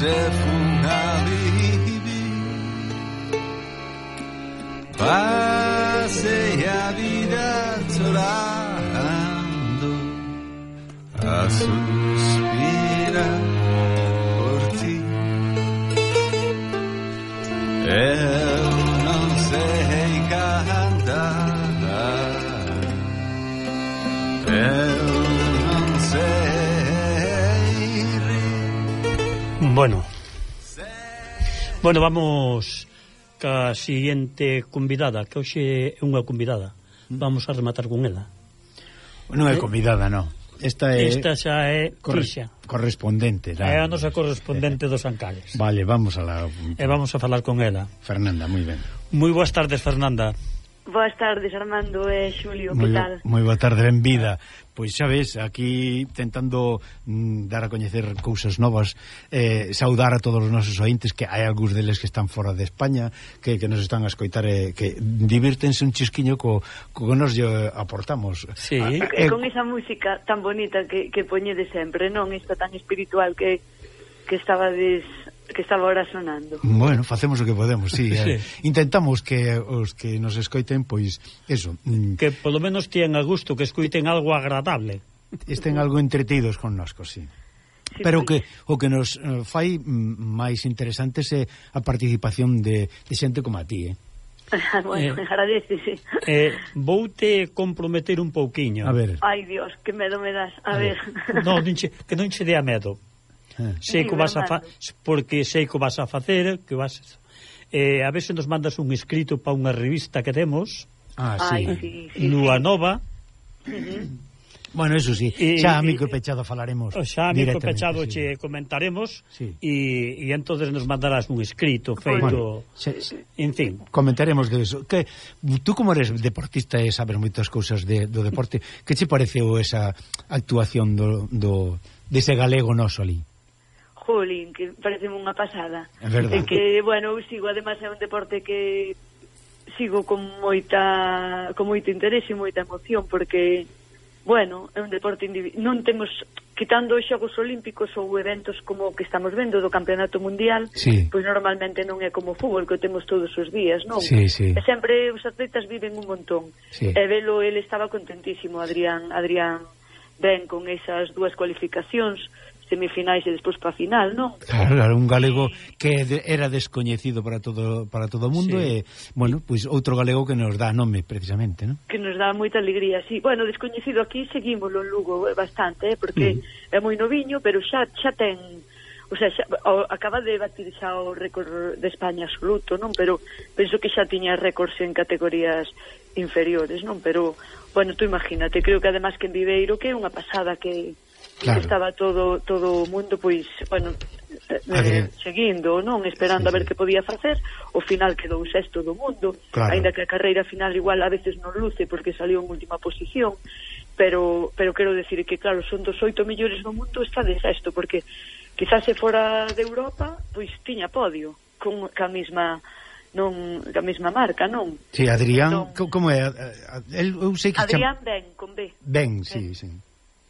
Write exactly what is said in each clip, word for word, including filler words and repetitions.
se fun a vivir. Pasei a vida chorando, a suspirar por ti. Eu non sei cantar, eu non sei rir. Bueno, bueno, vamos ca siguiente convidada, que hoxe é unha convidada. Vamos a rematar con ela. Non é convidada, non. Esta é Esta xa é Tixa, correspondente. É a nosa correspondente dos Ancales. Vale, vamos a la... E vamos a falar con ela. Fernanda, moi ben. Moi boas tardes, Fernanda. Boas tardes, Armando e Xulio, Moi, que tal? moi boa tarde, ben vida. Pois xa ves, aquí tentando mm, dar a coñecer cousas novas, eh, saudar a todos os nosos ointes, que hai algúns deles que están fora de España, que, que nos están a escoitar, eh, que divírtense un chisquiño co, co que nos lle aportamos. Sí. E eh, con esa música tan bonita que, que poñede sempre, non? Esta tan espiritual que, que estaba des... que estaba ahora sonando. Bueno, facemos o que podemos, sí, sí. Eh, intentamos que os que nos escoiten, pois, eso, mm, que polo menos tían a gusto, que escoiten algo agradable, estén algo entretidos connosco, sí. Sí, Pero pues... que o que nos uh, fai mm, máis interesantes é a participación de, de xente como a ti, eh? bueno, eh, agradecese. eh, Voute comprometer un pouquiño. A ver. Ai, Dios, que medo me das. A, a ver. ver. No, non che, que non che dea medo. Ah. Sei que vas a fa porque sei que vas a facer, que vas eh, a ver se nos mandas un escrito para unha revista que temos. Ah, sí. Ai, sí, sí, Lua sí. Nova. Uh-huh. Bueno, eso sí, E, xa a e, mico pechado falaremos. Xa a mico pechado sí. che comentaremos, sí. e, e entonces nos mandarás un escrito feito, bueno, se, se, en fin. Comentaremos de eso. Que tú como eres deportista e sabes moitas cousas de, do deporte, que che pareceu esa actuación do, do dese galego noso ali? Jolín, que parece unha pasada. É verdade. E que, bueno, eu sigo, además é un deporte que sigo con moita con moito interese e moita emoción, porque, bueno, é un deporte individual. Non temos, quitando os Xogos Olímpicos ou eventos como que estamos vendo do Campeonato Mundial, sí. pois normalmente non é como o fútbol, que o temos todos os días, non? Sí, sí. E sempre os atletas viven un montón. Sí. E velo, ele estaba contentísimo, Adrián, Adrián ben con esas dúas cualificacións, semifinais e despois para a final, non? Claro, claro, un galego que era descoñecido para todo para todo o mundo, sí. E, bueno, pois pues, outro galego que nos dá nome, precisamente, non? Que nos dá moita alegría, sí. Bueno, descoñecido aquí seguímoslo en Lugo bastante, eh, porque uh-huh. é moi noviño, pero xa xa ten... O sea, xa, o, acaba de batir xa o récord de España absoluto, non? Pero penso que xa tiña récords en categorías inferiores, non? Pero, bueno, tú imagínate, creo que además que en Viveiro, que é unha pasada que... Claro. Estaba todo todo o mundo, pois, bueno, eh, seguindo, non? Esperando sí, a ver sí. que podía facer. O final quedou sexto do mundo, claro. Ainda que a carreira final igual a veces non luce porque salió en última posición, pero pero quero decir que, claro, son dos oito millores do mundo, está de sexto, porque quizás se fora de Europa, pois tiña podio, con a mesma... non a mesma marca, non? Sí, Adrián, non... como é? El, eu sei que Adrián cham... Ben, con B. Ben, sí, sí.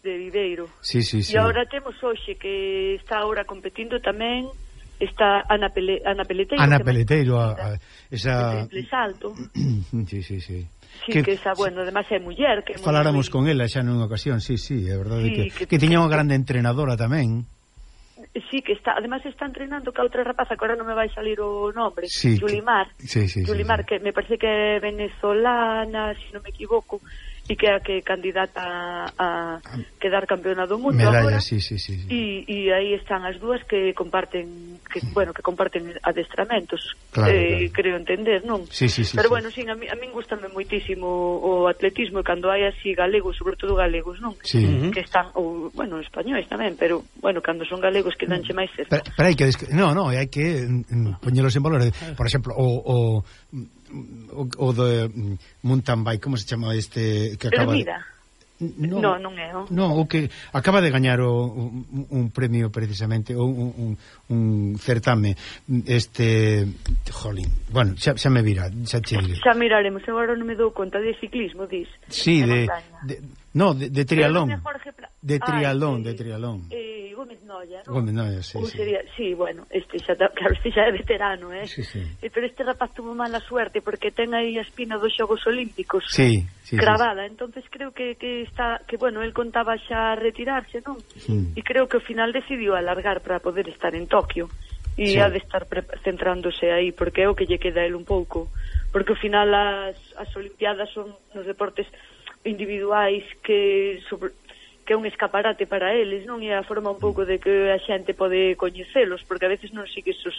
De Viveiro. Sí, sí, sí. E agora temos hoxe que está agora competindo tamén está Ana, Pele, Ana Peleteiro. Ana Peleteiro, a, a, esa... De salto. Sí, sí, sí. Sí, que, que esa, bueno, además é muller. Que faláramos con ela xa nunha ocasión, sí, sí, é verdade sí, que, que, que tiña unha grande entrenadora tamén. Sí, que está, además está entrenando ca outra rapaza que agora non me vai salir o nombre, sí, Yulimar. Sí, sí, Yulimar, sí, sí. Que me parece que é venezolana, se si non me equivoco, e que é a que candidata a, a quedar campeona do mundo medalla, agora. Sí, sí, sí, sí. E, e aí están as dúas que comparten que, bueno, que comparten adestramentos, claro, eh, claro. creo entender, non? Sí, sí, sí, pero sí. bueno, sí, a mí, a mí gustame moitísimo o atletismo, e cando hai así galegos, sobre todo galegos, non? Sí. Que están, ou, bueno, españoles tamén, pero bueno, cando son galegos quedanche máis cerca. Pero, pero hai que no, no, hai que mm, poñelos en valor. Por exemplo, o o o, o de mountain bike, como se chama este que acaba Hermida. de... No, no, non é, non? No, o que acaba de gañar o, un, un premio precisamente, un, un, un certame, este, jolín, bueno, xa, xa me vira, xa che diré. Xa miraremos, agora non me dou conta de ciclismo, dis. Sí, de, de No, de, de trialón. Pla... De trialón, ah, de trialón. Eh, Gómez Noia, non? Gómez Noia, sí, sí. Sería, sí, bueno, este xa, claro, este xa é veterano, eh? Sí, sí. Eh, pero este rapaz tuvo mala suerte porque ten aí a espina dos Xogos Olímpicos sí, sí, cravada, sí, sí. entonces creo que, que está, que bueno, él contaba xa retirarse, non? Sí. E creo que ao final decidiu alargar para poder estar en Tokio e sí. Ha de estar centrándose aí porque é o que lle queda a él un pouco, porque ao final as, as Olimpiadas son nos deportes individuais que sobre, que é un escaparate para eles, non? E a forma un pouco de que a xente pode coñecelos, porque a veces non sigue esos,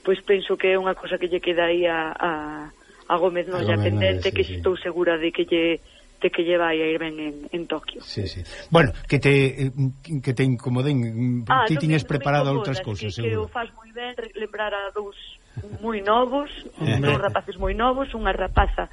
pois penso que é unha cosa que lle queda aí a, a, a Gómez Noia pendente, sí, que sí. Estou segura de que lle de que lle vai a ir ben en, en Tokio. Sí, sí. Bueno, que te que te incomoden, ah, ti tiñes preparado outras cousas, que, seguro. Que o faz moi ben lembrar a dous moi novos, dous rapaces moi novos, unha rapaza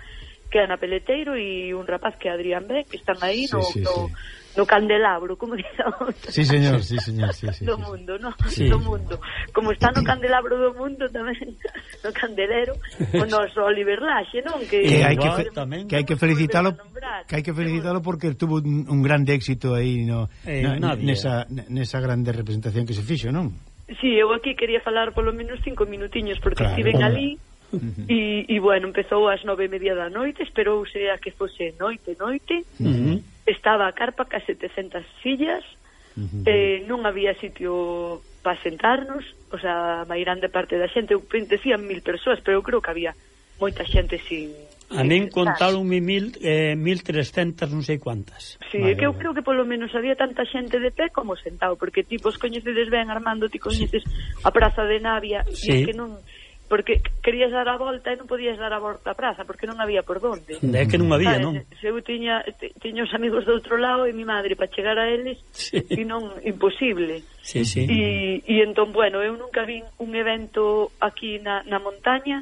que é Ana Peleteiro e un rapaz que é Adrián Ben, que están aí sí, no, sí, no, sí. no candelabro, como dixamos. Sí, señor, sí, señor, sí, sí, do sí, mundo, no? Sí. Do mundo. Como está no candelabro do mundo tamén, no candelero, o noso Oliver Laxe, non? Que, que hai que, fe, que hai que felicitalo, que hai que felicitalo porque tuvo un, un grande éxito aí no, eh, na, nesa, nesa grande representación que se fixo, non? Sí, eu aquí quería falar polo menos cinco minutiños porque claro, estiven ali. Uh-huh. E, e bueno, empezou ás nove e media da noite, esperouse a que fose noite, noite uh-huh. Estaba a carpa ca setecentas sillas uh-huh. eh, Non había sitio para sentarnos, o sea, a mairande parte da xente, eu decían mil persoas, pero eu creo que había moita xente sin... A min contaronme mil, eh, mil trescentas non sei cuantas. Sí, é que eu creo que polo menos había tanta xente de pé como sentado, porque tipos coñecedes ben, Armando, ti coñeces sí. A Praza de Navia, sí. E que non... Porque querías dar a volta e non podías dar a volta a praza porque non había por donde. É que non había, non? Se eu tiña, tiña os amigos do outro lado e mi madre para chegar a eles sí. E non, imposible. Sí, sí. E, e entón, bueno, eu nunca vi un evento aquí na, na montaña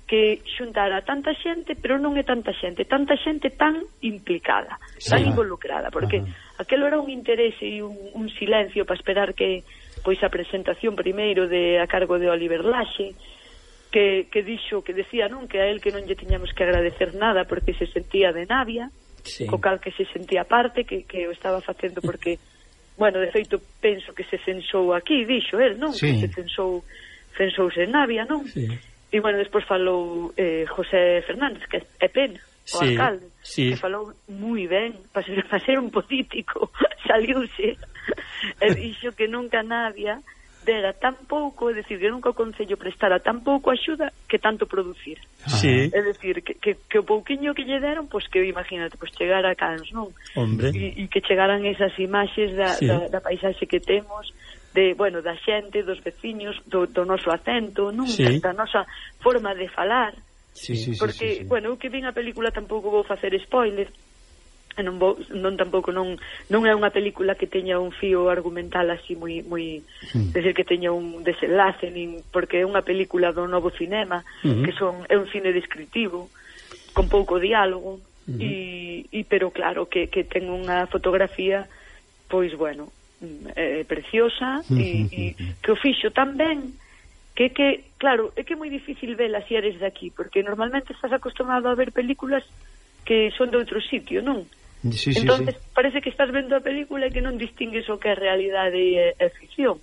que xuntara tanta xente, pero non é tanta xente, tanta xente tan implicada, sí. Tan involucrada, porque ajá. Aquelo era un interese e un, un silencio para esperar que pois a presentación primeiro de a cargo de Oliver Laxe, que, que dixo, que decía, non, que a él que non lle tiñamos que agradecer nada porque se sentía de Navia, sí. Co cal que se sentía parte, que, que o estaba facendo porque, bueno, de feito penso que se censou aquí, dixo él, non? Sí. Que se censou, censouse en Navia, non? Sí. E, bueno, despois falou eh, José Fernández, que é pena, o sí. Alcalde, sí. Que falou moi ben, para ser, para ser un político, saliuse, e dixo que nunca Navia dera tan pouco, é dicir, que nunca o Concello prestara tan pouco axuda que tanto producir. Sí. É dicir, que, que, que o pouquiño que lle deron, pois que imagínate, pois chegar a Cans, non? Hombre. E, e que chegaran esas imaxes da, sí. da, da paisaxe que temos, de, bueno, da xente, dos veciños, do, do noso acento, non? Sí. Da nosa forma de falar. Sí, sí, porque, sí, sí, sí. bueno, eu que vin a película tampouco vou facer spoiler, e non vou, non tampouco non non é unha película que teña un fío argumental así moi moi, mm. decir que teña un desenlace, nin porque é unha película do novo cinema, mm-hmm. Que son é un cine descritivo con pouco diálogo, mm-hmm. e, e pero claro que que ten unha fotografía pois bueno, é preciosa, mm-hmm. e, e que o fixo tan ben que que claro, é que é moi difícil vela se eres de aquí, porque normalmente estás acostumado a ver películas que son de outro sitio, non? Sí, sí, entonces sí. Parece que estás vendo a película e que non distingues o que é realidade e, e ficción,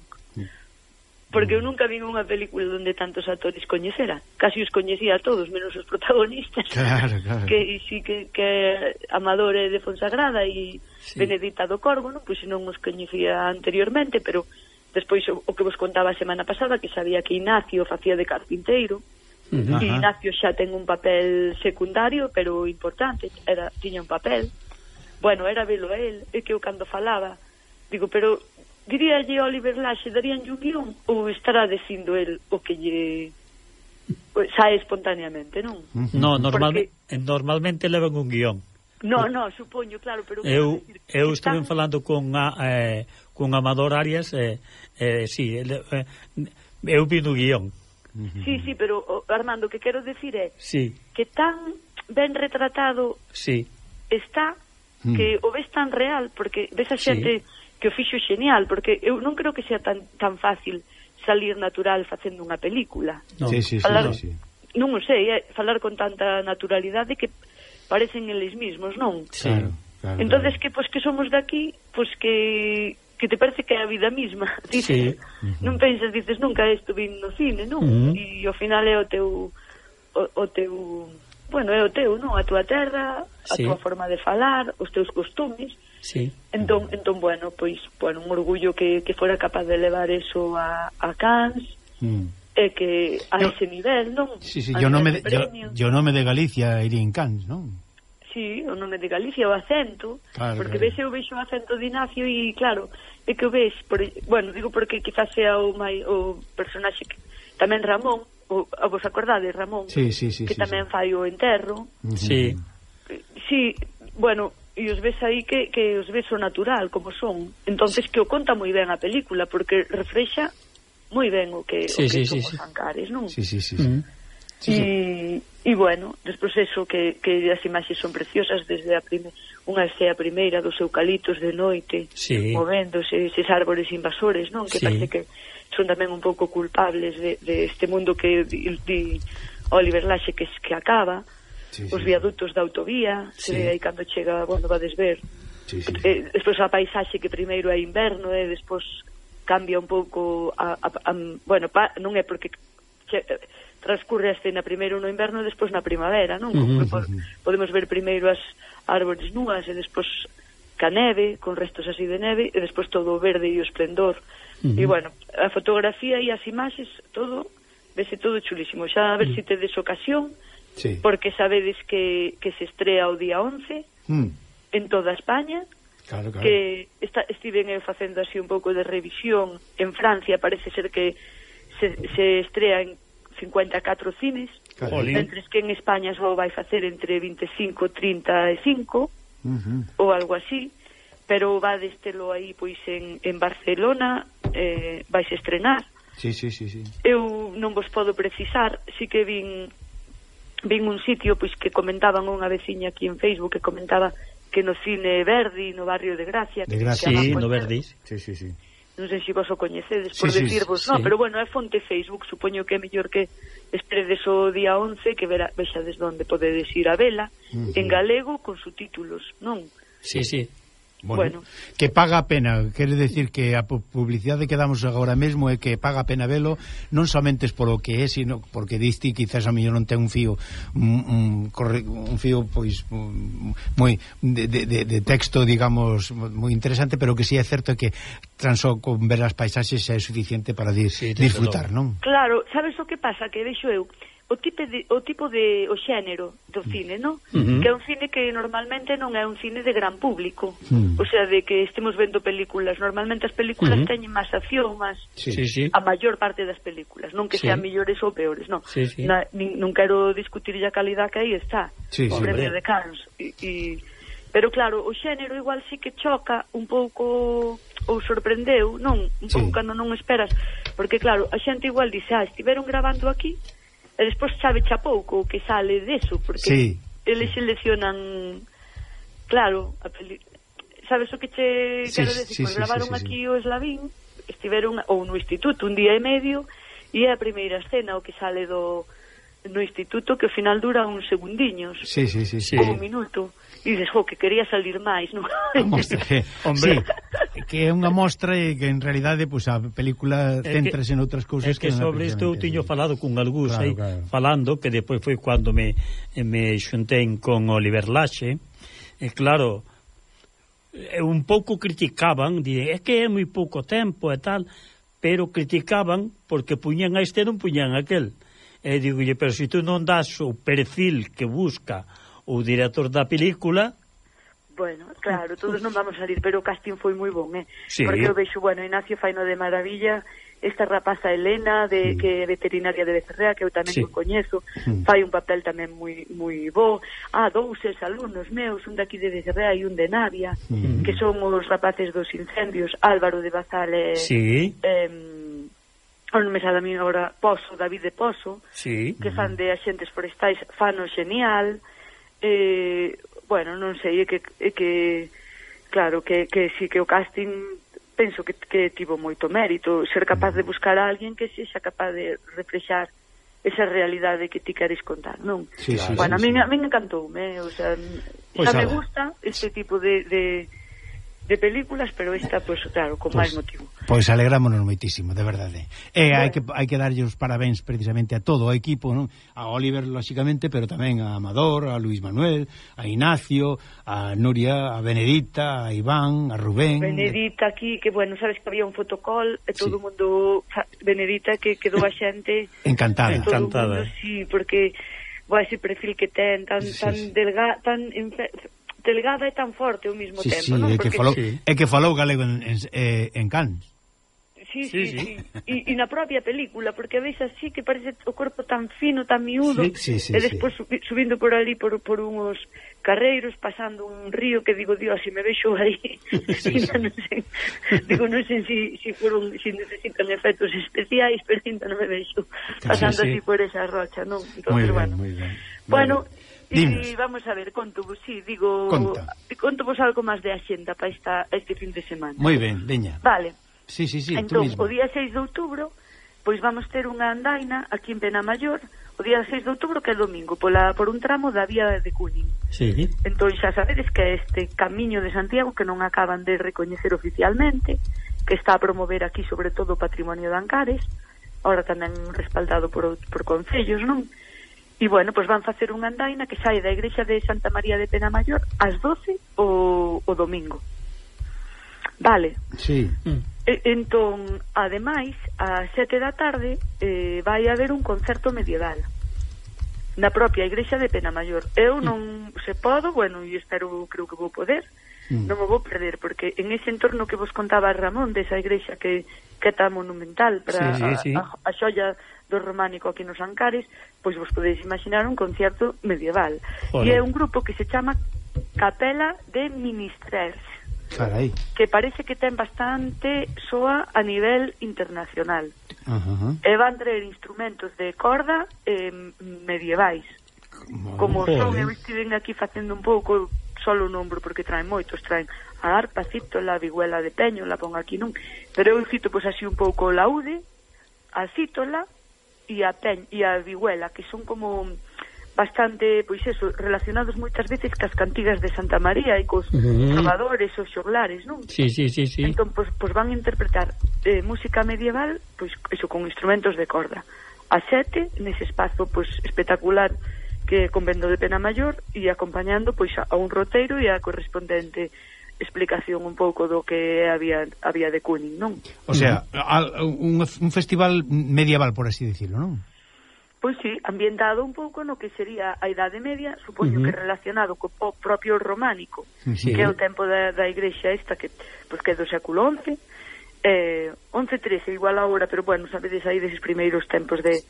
porque eu nunca vi unha película onde tantos actores coñecera, casi os coñecía a todos menos os protagonistas, claro, claro. Que sí que, que Amador é de Fonsagrada e sí. Benedita do Corvo, non? Pois non os coñecía anteriormente, pero despois o, o que vos contaba a semana pasada, que sabía que Ignacio facía de carpinteiro. Uh-huh. E Ignacio xa ten un papel secundario pero importante, era, tiña un papel. Bueno, era velo a él, é que eu cando falaba digo, pero diríalle Oliver Laxe, daríanlle un guión ou estará dicindo el o que lle sae espontaneamente, non? No, normalmente, Porque... normalmente levan un guión. No, no, supoño, claro, pero eu eu estuve están... falando con a, eh, con Amador Arias, eh, eh, sí, eh, eu vi no guión. Sí, sí, pero Armando, o que quero decir é sí. Que tan ben retratado sí. está que o ves tan real, porque ves a xente sí. Que o fixo xenial, porque eu non creo que sea tan tan fácil salir natural facendo unha película. No. Sí, sí, falar, sí, sí. Non o sei, é, falar con tanta naturalidade que parecen eles mismos, non? Claro, claro. Claro, entonces claro. que pois que somos de aquí, pois que que te parece que é a vida misma. Dices, Sí. non pensas, dices, nunca estuve no cine, non? Uh -huh. E ao final é o teu o, o teu, bueno, é o teu, non? A túa terra, a Sí. túa forma de falar, os teus costumes. Sí. Entón, entón bueno, pois, bueno, un orgullo que, que fora capaz de levar eso a, a Cannes, Mm. e que a Yo, ese nivel, non? Sí, sí, A yo nome nivel de, de yo, premio. yo nome de Galicia iría en Cannes, non? Sí, o nome de Galicia, o acento, Claro, porque claro. ves, eu vexo o acento de Ignacio e, claro, é que o ves, por, bueno, digo porque quizás sea o, mai, o personaxe que, tamén Ramón, o, a vos acordades, Ramón, Sí, sí, sí, que sí, tamén sí. fai o enterro. Sí. Sí, bueno, e os ves aí que, que os ves o natural, como son. Entonces que o conta moi ben a película, porque reflexa moi ben o que, Sí, o que sí, son sí, os sí. Ancares, non? Sí, sí, sí, sí. Mm. Sí, sí. E, e bueno, despois eso que, que as imaxes son preciosas desde a primeira, unha é a primeira dos eucaliptos de noite, Sí. movéndose eses árbores invasores, non? Que Sí. parece que son tamén un pouco culpables de, de este mundo que di, di Oliver Laxe que, que acaba, Sí, os sí. viadutos da autovía, se Sí. ve aí cando chega, cando vades ver. Sí, sí, sí. Eh, despois a paisaxe que primeiro é inverno e despois cambia un pouco a, a, a, bueno, pa, non é porque che, transcurre a escena primeiro no inverno e despois na primavera, non? Uh -huh. Como podemos ver primeiro as árbores núas e despois ca neve, con restos así de neve e despois todo o verde e o esplendor. Uh -huh. E bueno, a fotografía e as imaxes, todo, vese todo chulísimo. Xa a ver Uh -huh. se tedes ocasión, Sí. porque sabedes que, que se estrea o día once Mm. en toda España. Claro, claro. Que está, estiven eu facendo así un pouco de revisión en Francia, parece ser que se, se estrea en cincuenta e catro cines, Claro. mentres que en España só vai facer entre vinte e cinco e trinta e cinco Uh -huh. ou algo así, pero va destelo aí pois en, en Barcelona, eh, vais estrenar. Sí, sí, sí, sí. Eu non vos podo precisar, si que vin vin un sitio pois que comentaban unha veciña aquí en Facebook que comentaba que no cine Verdi, no barrio de Gracia, De Gracia. que Sí, además, no pois, Verdis. Sí, sí, sí. non sei se vos o coñecedes por Sí, sí, decirvos, sí. no, pero bueno, é fonte Facebook, supoño que é mellor que esperedes o día once, que verá, vexades onde podedes ir a vela, Uh -huh. en galego con subtítulos, non? Sí, sí. Bueno, Bueno. que paga a pena, quere decir que a pu- publicidade que damos agora mesmo é que paga a pena velo, non somente es polo que é, sino porque diste quizás a mellor non ten un fío un, un, corre, un fío pois un, moi de, de, de, de texto, digamos, moi interesante, pero que si sí é certo que tan só con ver as paisaxes é suficiente para di, Sí, desde disfrutar, logo. non? Claro, sabes o que pasa? Que vexo eu o tipo de, o tipo de o xénero do cine, non? Uh -huh. Que é un cine que normalmente non é un cine de gran público. Mm. O sea, de que estemos vendo películas, normalmente as películas Uh -huh. teñen máis acción, máis Sí, sí. sí. a maior parte das películas, non que Sí. sean mellores ou peores, non. Sí, sí. Na, nin, non quero discutir a calidad que aí está. Sí, o sí. premio Hombre. de Cannes. E, e, pero claro, o xénero igual sí que choca un pouco ou sorprendeu, non? Un Sí. pouco cando non esperas, porque claro, a xente igual dice, ah, estiveron grabando aquí, e despois sabe xa pouco o que sale deso, porque Sí. eles seleccionan, claro, a peli... sabes o que che Sí, quero sí, decir? sí, Pois sí, gravaron sí, sí, aquí o Eslavín, estiveron ou no instituto un día e medio, e é a primeira escena o que sale do no instituto, que ao final dura uns segundiños, Sí, sí, sí, sí. Sí. ou un minuto, e dices, jo, que quería salir máis, non? Mostra que, Hombre. sí, que é unha mostra e que en realidade pues, a película que- centrase en outras cousas É que non sobre isto eu precisamente tiño así. falado con algúns Claro, aí, claro. falando, que depois foi cando me, me xuntei con Oliver Laxe, e claro, e un pouco criticaban, di, é que é moi pouco tempo e tal, pero criticaban porque puñan a este e non puñan a aquel. E digo, pero se tú non das o perfil que busca o director da película. Bueno, claro, todos non vamos a salir, pero o casting foi moi bon, eh? Sí. Porque eu vexo, bueno, Ignacio faino de maravilla, esta rapaza Elena, de, Mm. que é veterinaria de Becerrea, que eu tamén Sí. o coñezo, Mm. fai un papel tamén moi moi bo. Ah, dous ex alumnos meus, un daqui de Becerrea e un de Navia, Mm. que son os rapaces dos incendios, Álvaro de Bazal e... Sí, Eh, non me sabe a mí agora, Pozo, David de Pozo, sí. que fan de axentes forestais, fano xenial, eh, bueno, non sei, é que, é que claro, que, que sí que o casting penso que, que tivo moito mérito, ser capaz de buscar a alguén que sexa capaz de reflexar esa realidade que ti queres contar, non? Sí, sí, bueno, sí, a min, sí. a min encantoume, o sea, Pois xa me ala. gusta este tipo de, de, de películas, pero esta, pues, claro, con Pois- máis motivo. Pois alegrámonos moitísimo, de verdade. E Bueno. hai que hai que darlle os parabéns precisamente a todo o equipo, non? A Oliver, lóxicamente, pero tamén a Amador, a Luis Manuel, a Ignacio, a Nuria, a Benedita, a Iván, a Rubén. Benedita aquí, que bueno, sabes que había un fotocall e todo Sí. o mundo, Benedita, que quedou a xente Encantada. todo o Encantada. mundo, sí, porque vai ese perfil que ten tan Sí, tan sí. delga, tan enfe, delgada e tan forte ao mesmo Sí, tempo, sí, non? é que Porque falou, Sí. é que falou galego en en, eh, en Cannes. sí, Sí, sí, sí. sí. E, e na propia película, porque ves así que parece o corpo tan fino, tan miúdo, Sí, sí, sí, e despois subi, subindo por ali por, por uns carreiros, pasando un río que digo, Dios, se me vexo aí, Sí, sí. non sei, digo, non sei si, si, fueron, si necesitan efectos especiais, pero ainda non me vexo pasando Sí, sí. así por esa rocha, non? Entonces, Moi ben, bueno, moi ben. bueno, Dinos. e vamos a ver, conto vos, sí, digo, Conta. conto vos algo máis de axenda para esta, este fin de semana. Moi ben, veña. Vale. Sí, sí, sí, tú Entón, mismo. o día seis de outubro, pois vamos ter unha andaina aquí en Penamayor, o día seis de outubro, que é domingo, pola, por un tramo da vía de Cunin. Sí. Entón, xa sabedes que este camiño de Santiago, que non acaban de recoñecer oficialmente, que está a promover aquí, sobre todo, o patrimonio de Ancares, ahora tamén respaldado por, por concellos, non? E, bueno, pois van facer unha andaina que sai da igrexa de Santa María de Penamayor ás doce o, o domingo. Vale. Sí. Mm. E, entón, ademais, ás sete da tarde eh, vai haber un concerto medieval na propia igrexa de Penamayor. Eu non se podo, bueno, e espero, creo que vou poder, Mm. non me vou perder, porque en ese entorno que vos contaba Ramón, desa igrexa que, que é tan monumental para Sí, sí, sí. A, a, a xolla do románico aquí nos Ancares, pois vos podedes imaginar un concierto medieval. Joder. E é un grupo que se chama Capela de Ministrers, Carai. que parece que ten bastante soa a nivel internacional. Ajá. E van traer instrumentos de corda eh, medievais. Como son, eu estiven aquí facendo un pouco, solo o nombro porque traen moitos, traen a arpa, cítola, a vihuela de peño, la pon aquí non, pero eu cito pois así un pouco o laude, a cítola e a peñ, e a vihuela, que son como bastante, pois eso, relacionados moitas veces cas cantigas de Santa María e cos Uh-huh. trovadores, os xoglares, non? Sí, sí, sí, sí. Entón, pois, pois van a interpretar eh, música medieval, pois eso, con instrumentos de corda. A sete, nese espazo pois espectacular que é convento de Penamayor, e acompañando pois a, a un roteiro e a correspondente explicación un pouco do que había había de Cunin, non? O sea, al- un, un festival medieval, por así decirlo, non? Pois sí, ambientado un pouco no que sería a Idade Media, supoño Ujú. que relacionado co po propio románico, Sí. que é o tempo da, da igrexa esta, que, pois, que é do século once, eh, once trece, igual agora, pero bueno, sabedes aí deses primeiros tempos de,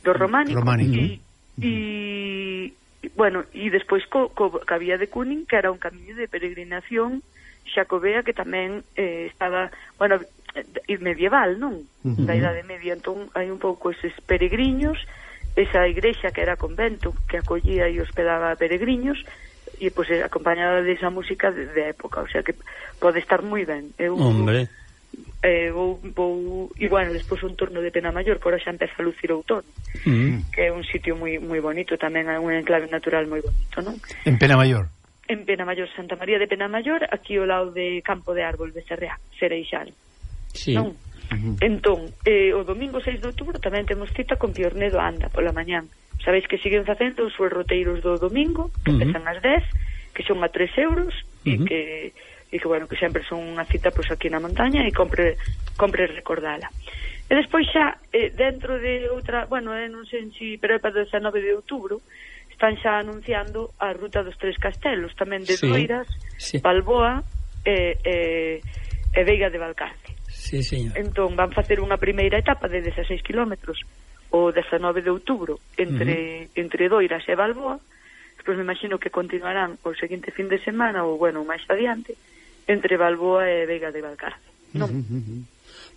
do románico, Románico. e, e, bueno, e despois co, co, co había de Cunin, que era un camiño de peregrinación xacobea que tamén eh, estaba, bueno, eh, medieval, non? Ujú. Da Idade Media, entón hai un pouco eses peregriños, esa igrexa que era convento, que acollía e hospedaba peregriños, e pois pues, acompañada desa música de, de época, o sea que pode estar moi ben. Eu, Hombre. eh, vou, vou, e bueno, despois o entorno de Penamayor, por xa empeza a lucir outono, Mm. que é un sitio moi moi bonito, tamén é un enclave natural moi bonito, non? En Penamayor. En Penamayor, Santa María de Penamayor, aquí ao lado de Campo de Árbol de Serrea, Cereixal, Sí. non? Ujú. Entón, eh, o domingo seis de outubro tamén temos cita con Piornedo Anda pola mañán. Sabéis que siguen facendo os seus roteiros do domingo, que Ujú. empezan ás dez, que son a tres euros, e Ujú. que e que bueno, que sempre son unha cita pois aquí na montaña e compre compre recordala. E despois xa eh, dentro de outra, bueno, eh, non sei si, pero é para o dezanove de outubro, están xa anunciando a ruta dos Tres Castelos, tamén de Sí. Doiras, Sí. Balboa e eh, eh, e Veiga de Valcarce. Sí, señor. Entón van facer unha primeira etapa de dezaseis kilómetros o dezanove de outubro entre, uh-huh. entre Doiras e Balboa. Despois me imagino que continuarán o seguinte fin de semana ou, bueno, máis adiante entre Balboa e Veiga de Valcarce, non? Ujú, ujú.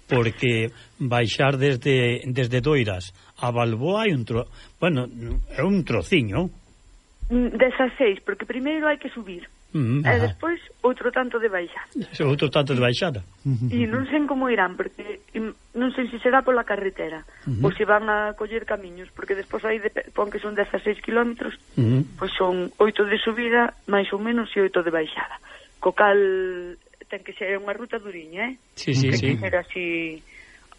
Porque baixar desde desde Doiras a Balboa hai un tro... bueno, é un trociño. Mm, dezaseis, porque primeiro hai que subir. Uh -huh. E despois outro tanto de baixada. Outro tanto de baixada. E non sei como irán, porque non sei se será pola carretera uh -huh. ou se van a coller camiños, porque despois aí de, pon que son dezasseis kilómetros, uh -huh. pois son oito de subida máis ou menos e oito de baixada, co cal ten que ser unha ruta duriña, eh? Sí, sí, ten sí. que ser así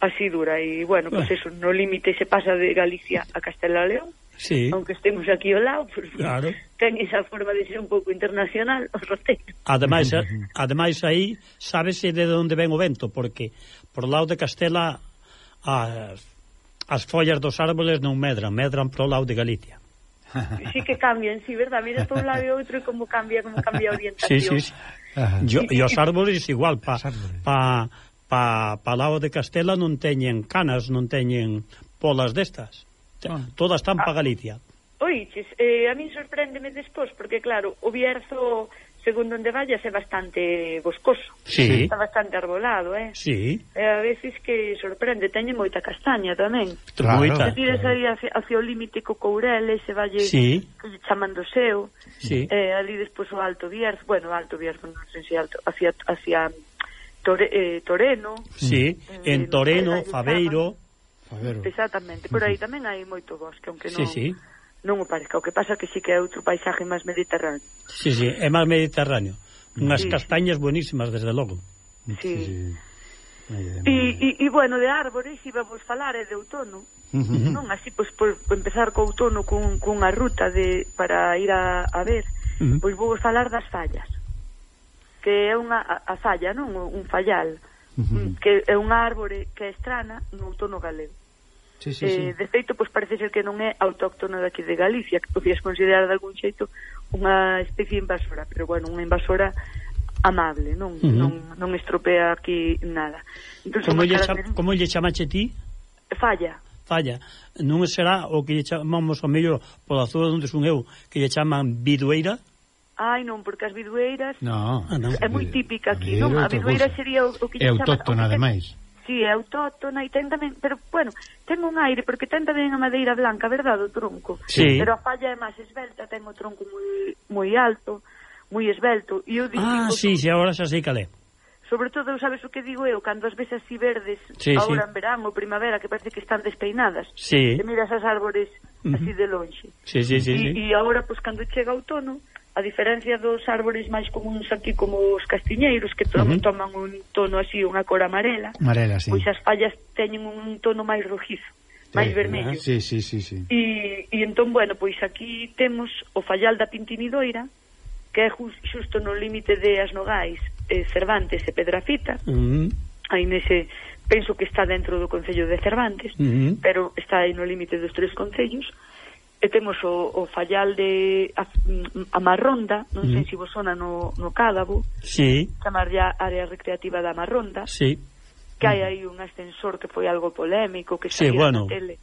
así dura, e bueno, pois pues eso, no límite se pasa de Galicia a Castela León. Sí. Aunque estemos aquí ao lado, pues, claro. Ten esa forma de ser un pouco internacional o roteiro. Ademais, ademais aí sábese de onde ven o vento, porque por lado de Castela as, as follas dos árboles non medran, medran pro lado de Galicia. Sí que cambian, sí, verdad, mira por un lado e outro e como cambia, como cambia a orientación. Sí, sí, sí. Yo, e os árboles igual, pa, pa, pa, pa lado de Castela non teñen canas, non teñen polas destas. Todas están para Galicia. Oiches, eh, a mí sorpréndeme despois, porque claro, o Bierzo, segundo onde vayas, é bastante boscoso. Sí. Está bastante arbolado, eh? Sí. E a veces que sorprende, teñe moita castaña tamén. Claro. Moita. Se tiras aí hacia, hacia o límite co Courel, se valle, sí. que lle chaman do Seo, sí. eh, ali despois o Alto Bierzo, bueno, o Alto Bierzo, non sei se alto, hacia, hacia Tore, eh, Toreno. Sí, eh, en Toreno, Faveiro... Favero. Exactamente, por aí tamén hai moito bosque, aunque non, sí, sí. non o parezca. O que pasa que sí que é outro paisaje máis mediterráneo. Sí, sí, é máis mediterráneo. Unhas sí. castañas buenísimas, desde logo. Sí. sí. E, e, bueno, de árbores iba vos falar é de outono. Uh -huh. Non así, pois, por, por empezar co outono cun, cunha ruta de para ir a, a ver, uh -huh. pois vou vos falar das fallas. Que é unha a, a falla, non? Un fallal. Uh -huh. Que é unha árbore que é estrana no outono galego. Sí, sí, eh, sí. De feito, pois parece ser que non é autóctona daqui de Galicia, que podías considerar de algún xeito unha especie invasora, pero bueno, unha invasora amable, non uh -huh. non, non estropea aquí nada. Entón, como, lle cha, como lle chamache ti? Falla. Falla. Non será o que lle chamamos ao mellor pola zona onde son eu, que lle chaman bidueira? Ai, non, porque as bidueiras no, ah, no. é moi típica aquí, non? A bidueira sería o, o que é autóctona, ademais. Sí, é autóctona e ten tamén, pero, bueno, ten un aire, porque ten tamén a madeira blanca, verdade, o tronco? Sí. Pero a falla é máis esbelta, ten o tronco moi moi alto, moi esbelto. E eu digo, ah, sí, sí, agora xa sei cal é. Sobre todo, sabes o que digo eu? Cando as ves así verdes, sí, agora sí. en verán ou primavera, que parece que están despeinadas. Sí. E miras as árbores así de lonxe. Sí, sí, sí. E, sí. e agora, pois, cando chega outono, a diferencia dos árbores máis comuns aquí como os castiñeiros, que to uh -huh. toman un tono así, unha cor amarela, amarela sí. pois as fallas teñen un tono máis rojizo, máis sí, vermello. Sí, sí, sí, sí. E, e entón, bueno, pois aquí temos o fallal da Pintinidoira, que é just, xusto no límite de As Nogais, eh, Cervantes e Pedrafita. Uh -huh. Aí nese, penso que está dentro do concello de Cervantes, uh -huh. pero está aí no límite dos tres concellos. E temos o, o fallal de a, a Marronda, non sei mm. se vos sona no, no Cádabo, sí. chamar ya área recreativa da Marronda, sí. que hai aí un ascensor que foi algo polémico, que sí, bueno. na tele.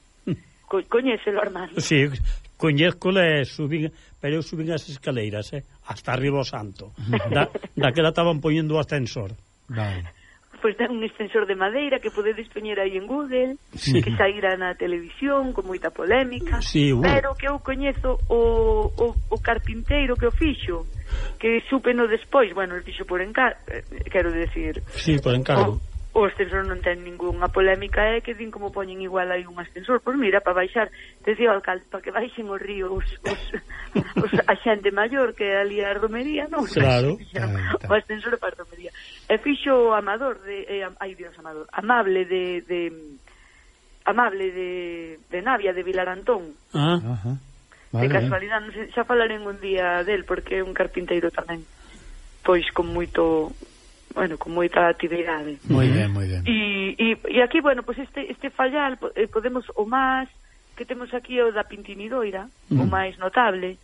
Co coñécelo, Armando? Sí, coñézcolo e subín, pero eu subín as escaleiras, eh, hasta arriba o santo. Da, daquela estaban poñendo o ascensor. Vale. Pois ten un extensor de madeira que podedes poñer aí en Google, sí. que saíra na televisión con moita polémica, sí, bueno. pero que eu coñezo o, o, o carpinteiro que o fixo, que supe no despois, bueno, o fixo por encargo, quero decir. Sí, por encargo. O, o ascensor non ten ningunha polémica, é que din como poñen igual aí un ascensor, pois mira, para baixar, decía o alcalde, para que baixen os ríos os, os, a xente maior que ali a romería, non? Claro. O ascensor para a romería. E fixo Amador de eh, ai Dios, Amador, Amable de, de Amable de, de Navia de Vilarantón. Ah, ajá. Vale. De casualidade, non sei, xa falaré un día del porque é un carpinteiro tamén, pois con moito, bueno, con moita actividade. Moi ben, moi ben. E, e, e aquí, bueno, pois pues este este fallal eh, podemos o máis que temos aquí o da Pintinidoira, mm. o máis notable,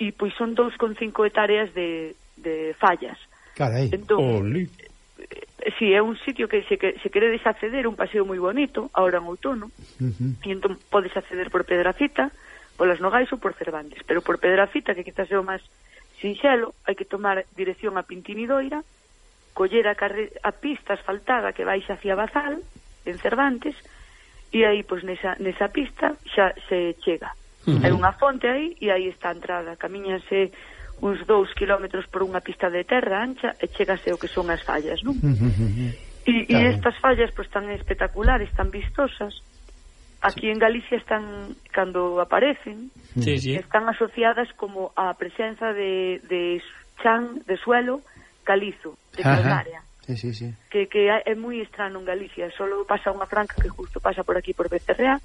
e pois son dous con cinco hectáreas de, de fallas. Carai. Entón, si, sí, é un sitio que se, que se queredes acceder, un paseo moi bonito, ahora en outono, uh -huh. e entón podes acceder por Pedrafita, polas Nogais ou por Cervantes, pero por Pedrafita, que quizás é o máis sinxelo, hai que tomar dirección a Pintinidoira, coller a, a pista asfaltada que vais hacia Bazal, en Cervantes, e aí, pois, nesa, nesa pista xa se chega. Uh -huh. Hai unha fonte aí, e aí está a entrada, camíñase uns dous kilómetros por unha pista de terra ancha e chegase o que son as fallas, non? E, e estas fallas pois tan espectaculares, tan vistosas, aquí en Galicia están, cando aparecen, sí, sí. están asociadas como a presenza de, de chan, de suelo calizo, de calcárea. Sí, sí, sí. Que, que é moi estrano en Galicia, solo pasa unha franca que justo pasa por aquí por Becerrea,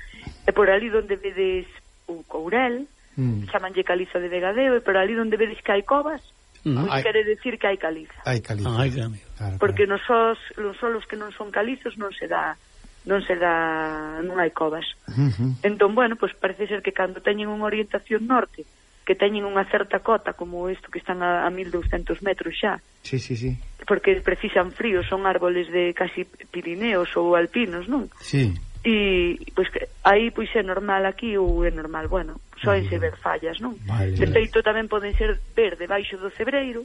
e por ali donde vedes o Courel, mm. chamanlle caliza de Vegadeo, e por ali donde vedes que hai covas, mm. pois quere decir que hai caliza. Hai caliza. Ai, claro, porque claro. nos solos, los solos que non son calizos non se dá non se dá, non hai covas. Uh-huh. Entón, bueno, pois parece ser que cando teñen unha orientación norte, que teñen unha certa cota como isto que están a, a mil douscentos metros xa. Sí, sí, sí. Porque precisan frío, son árboles de casi Pirineos ou alpinos, non? Sí. E pois que aí pois é normal aquí ou é normal, bueno, soense ver fallas, non? Vale. De feito tamén poden ser ver debaixo do cebreiro.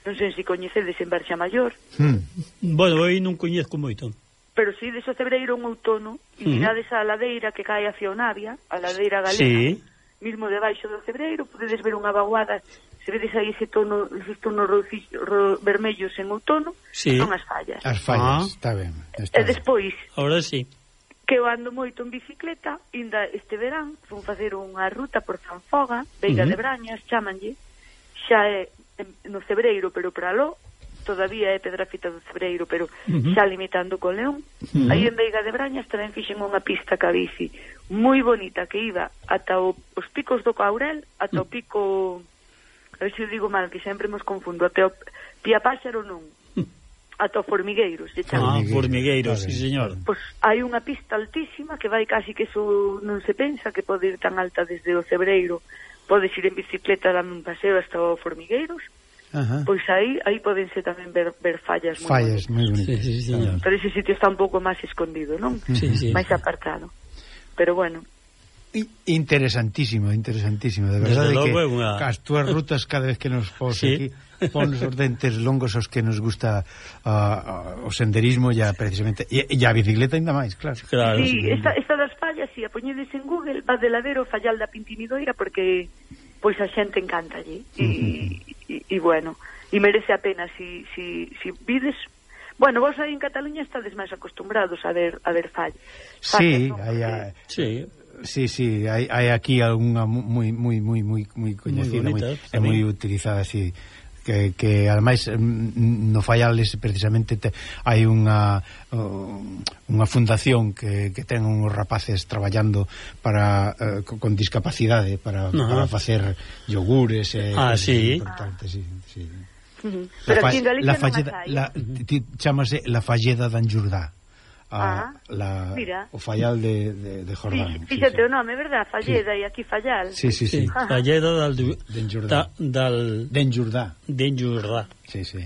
Non sei se coñecedes en Barxa Maior. Hmm. Bueno, aí non coñezco moito. Pero si des o cebreiro un outono e mirades a ladeira que cae hacia o Navia, a ladeira galega, sí. mismo debaixo do cebreiro, podedes ver unha vaguada, se vedes aí ese tono, esos tonos ro, ro, vermellos en outono, sí. son as fallas. As fallas, ah. está ben. Está e despois, ahora sí. que eu ando moito en bicicleta, inda este verán, fun facer unha ruta por Zanfoga, Veiga uh -huh. de Brañas, chamanlle, xa é no cebreiro, pero para lo todavía é Pedrafita do Cebreiro, pero uh -huh. xa limitando con León. Uh -huh. Aí en Veiga de Brañas tamén fixen unha pista ca bici moi bonita que iba ata o, os picos do Caurel, ata uh -huh. o pico, a ver se eu digo mal, que sempre nos confundo, ata o Pía Páxaro non, uh -huh. ata o Formigueiros. Ah, Formigueiros, sí señor. Pois hai unha pista altísima que vai casi que eso non se pensa que pode ir tan alta desde o Cebreiro. Podes ir en bicicleta, dar un paseo hasta o Formigueiros. Ajá. Pois aí aí podense tamén ver, ver fallas moi fallas moi bonitas. Sí, sí, señor. Pero ese sitio está un pouco máis escondido, non? Sí, sí. Máis apartado. Pero bueno. Interesantísimo, interesantísimo, de verdade que una... as túas rutas cada vez que nos pos sí. aquí pon os dentes longos os que nos gusta uh, uh, o senderismo ya precisamente e, e a bicicleta ainda máis, claro. claro sí, sí, esta, esta das fallas, si sí, a poñedes en Google, va de ladero Fallal da Pintimidoira porque pois a xente encanta allí e, uh -huh. e, e bueno, e merece a pena si, si, si vides. Bueno, vos aí en Cataluña estades máis acostumbrados a ver a ver fall. Sí, ¿no? hai a... sí. Sí, sí, hai, hai aquí algunha moi moi moi moi moi coñecida, moi é moi utilizada así, que que ademais no Fallales precisamente te, hai unha uh, unha fundación que que ten uns rapaces traballando para uh, con discapacidade para uh-huh. para facer yogures e ah, sí. importante, sí, sí. Uh -huh. Pero aquí en Galicia la falleda, non la, chamase la Falleda d'Anjurdà. A, ah, la, o Fallal de, de, de Jordán. Sí, fíxate sí, sí. o nome, verdad? Falleda sí. e aquí Fallal. Sí, sí, sí. sí. Falleda dal d'Enjurdà. Dal d'Enjurdà. D'Enjurdà. Sí, sí.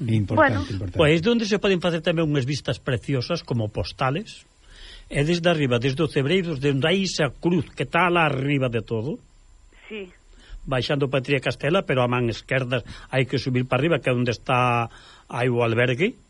Importante, bueno, importante. Pois pues, onde se poden facer tamén unhas vistas preciosas como postales. E desde arriba, desde o Cebreiro, desde aí esa cruz que está lá arriba de todo. Sí. Baixando para Tría Castela, pero a man esquerda hai que subir para arriba, que é onde está aí o albergue.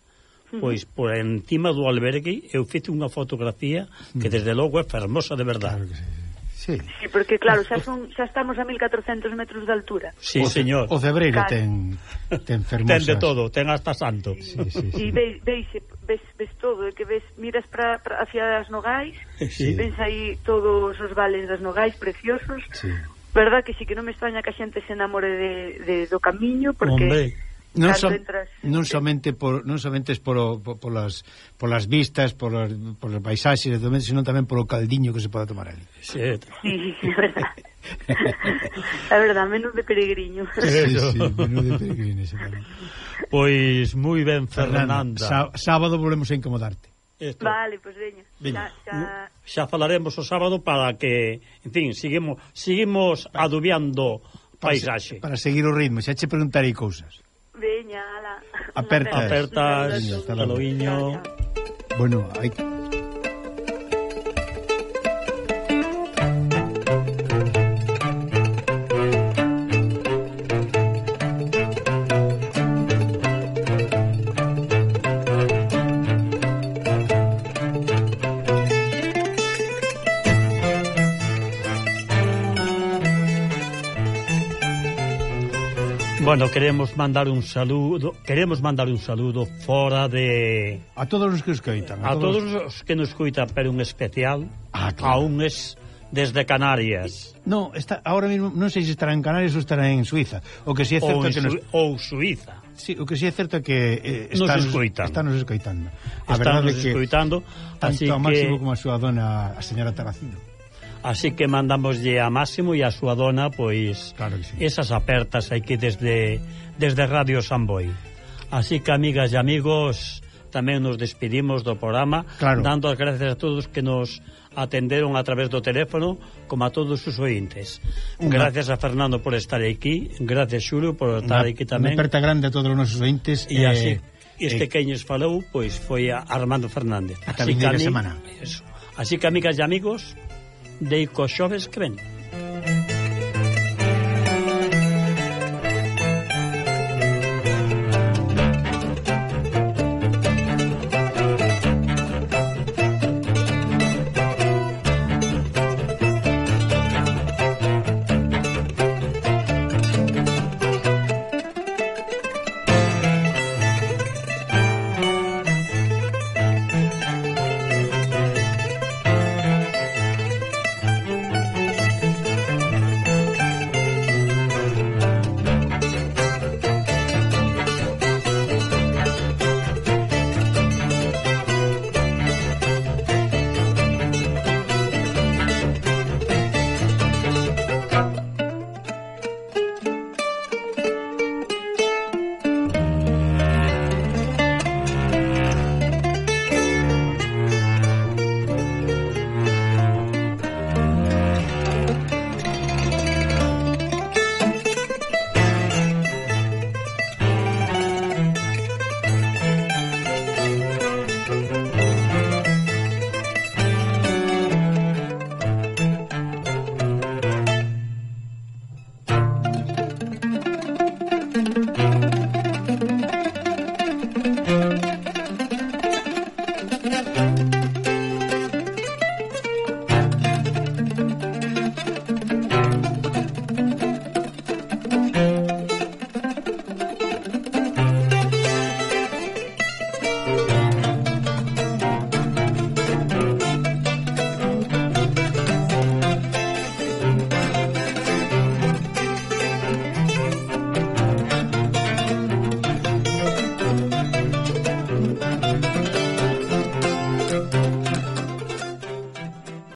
Pois por encima do albergue eu fiz unha fotografía que desde logo é fermosa de verdade. Claro que sí. Sí. Sí, porque claro, xa son xa estamos a mil catrocentos metros de altura. Sí, o, señor. O Cebreiro ten ten fermosas. Ten de todo, ten hasta santo. Sí, sí, sí. E veis, veis, ves, ves todo, que ves, miras para hacia as Nogais, sí. ves aí todos os vales das Nogais preciosos. Sí. Verdad que sí que non me extraña que a xente se enamore de, de do camiño porque Hombre. Non, so, entras... non somente por non somente es por, por, por las por las vistas, por las, por los paisaxes, sino tamén por o caldiño que se pode tomar ali. Sí, sí, é verdad. É verdad, menú de peregriño. Sí, sí, menú de peregrino. Pois moi ben, Fernanda. Fernanda, sábado volvemos a incomodarte. Esto. Vale, pois pues veña. Xa, xa... xa falaremos o sábado para que, en fin, seguimos seguimos adubiando paisaxe. Para, para seguir o ritmo, xa che preguntarei cousas. Veña, ala. Apertas. Apertas, hasta logo. Bueno, hai que... Bueno, queremos mandar un saludo, queremos mandar un saludo fora de a todos os que escoitan, a, a todos os que nos escoitan, pero un especial ah, claro. a un es desde Canarias. No, está ahora mismo non sei se estará en Canarias ou estará en Suiza. O que si é certo ou, que nos... ou Suiza. Sí, o que si é certo é que eh, está nos escoitan. Está nos escoitando. A está verdade nos é que escoitando, tanto así a Máximo que como a súa dona, a señora Taracino. Así que mandamoslle a Máximo e a súa dona, pois, claro que sí. esas apertas aquí desde desde Radio Samboy. Así que, amigas e amigos, tamén nos despedimos do programa, claro. dando as gracias a todos que nos atenderon a través do teléfono, como a todos os ointes. Una... Gracias a Fernando por estar aquí, gracias Xulio por estar una, aquí tamén. Unha aperta grande a todos os nosos ointes. E eh, así, este eh, que nos falou, pois foi a Armando Fernández. Ata vindeira semana. Eso. Así que, amigas e amigos, deico xoves que ven. Thank you.